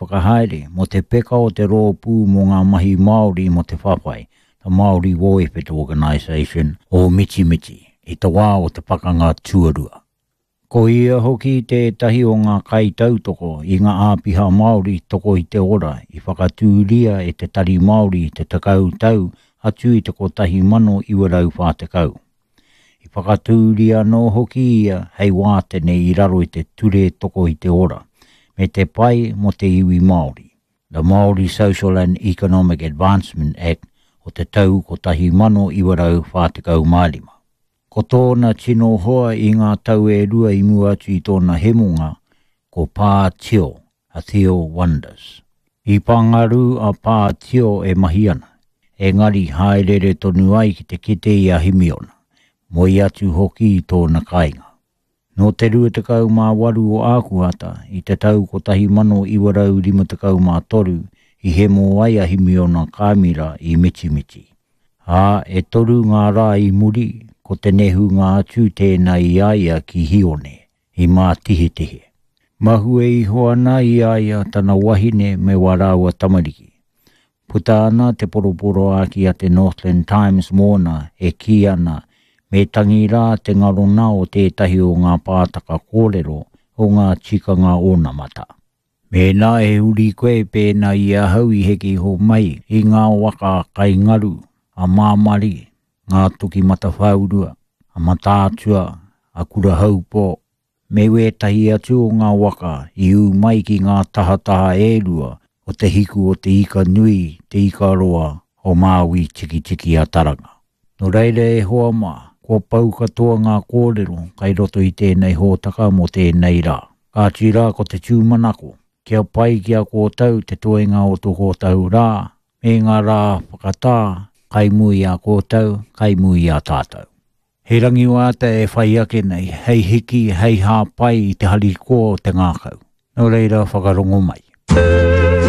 Whakahaere mō te peka o te Rōpū mō ngā Mahi Māori mō te Whawhai, The Māori War Effort Organisation, o Mitimiti, i te wā o te Pakanga Tuarua. Ko ia hoki tētahi o ngā kaitautoko i ngā āpiha Māori toko i te ora i whakatūria e te Tari Māori i te tekau tau atu i te 1940. I whakatūria anō hoki ia hei wātene i raro i te Ture Toko i te Ora me te Pai mō te Iwi Māori, The Māori Social and Economic Advancement Act o te tau 1945. Ko tōna tino hoa i ngā tau e rua i mua atu i tōna hemonga, ko Pā Tio, a Theo Wonders. I Pāngarū a Pā Tio e mahi ana, engari hāereere tonu ai ki te kite i a Himiona, moe atu hoki i tōna kāinga. Nō te 28 o Ākuhata i te tau 1953 i hemo ai a Himiona Kāmira i Mitimiti. Ā, e toru ngā rā i muri, ko te nehunga atu tēnā i a ia ki Hione, i Mātihetihe. Mahue iho ana i a ia tana wahine me wā rāua tamariki. Puta ana te poroporoāki a te Northland Times mōna e kī ana me tangi rā te ngarona o tētahi o ngā pātaka kōrero o ngā tikanga onamata. Mēnā he uri koe pēnā i ahau i heke iho mai i ngā waka kai ngaru a Māmari, ngā toki matawhāurua, a Mataatua, a Kurahaupō, me wētahi atu o ngā waka i ū mai ki ngā tahataha e rua o te hiku o te ika nui, te ika roa o Māui Tikitiki-a-Taranga. Nō reira e hoa mā, kua pau katoa ngā kōrero kai roto i tēnei hōtaka mō tēnei rā. Kāti rā ko te tūmanako, kia pai ki a kōtou te toenga o tō kōtou rā, me ngā rā whakatā kai mua i a kōtou, kai mua i a tātou. He rangiwātea e whai ake nei, hei hiki, hei hāpai i te harikoa o te ngākau. Nō reira whakarongo mai.